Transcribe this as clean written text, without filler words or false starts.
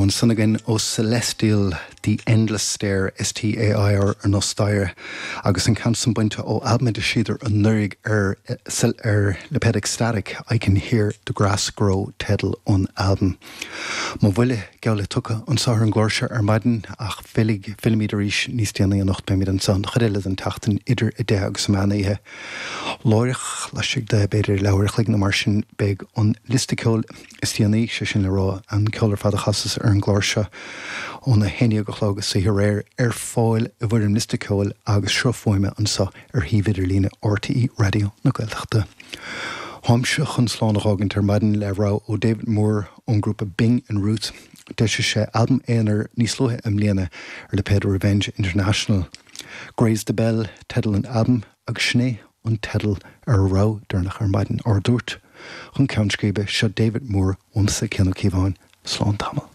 Ansan againn ó Celestial, The Endless Stair, S-T-A-I-R, ar nós staighre, agus an ceann san bainte ó albam a d'eisíodar anuraidh ar ar lipéad Ecstatic, I Can Hear The Grass Grow teideal an albaim. Mo bhuille geall le tugtha anso ar an gclár seo ar maidin ach fillfidh, fillfimid arís níos déanaí anocht, beimid anso an chuid eile den tseachtain idir 10 agus an meán oíche. Láithreach, laistigh de b'fhéidir leathuair a chloig nó mar sin, beidh an liosta ceoil. is déanaí, sé sin le rá, an ceol ar fad a chasas ar an gclár seo óna 11 a chlog istoíche aréir, ar fáil i bhfoirm liosta ceoil agus sruth fuaime anseo ar shuíomh idirlíne RTÉ Raidió na Gaeltachta. Táimse chun slán a dh'fhágaint ar maidin le rogha ó David Moore ón ngrúpa Bing and Ruth. D'eisigh sé albam aonair níos luaithe i mbliana ar lipéad Revenge International. Graze the Bell teideal an albaim agus sin é an teideal ar a rogha deireanach ar maidin ár dtabhairt chun ceann scríbe. Seo David Moore uaimse, Cian Ó Cíobháin. Slán tamall.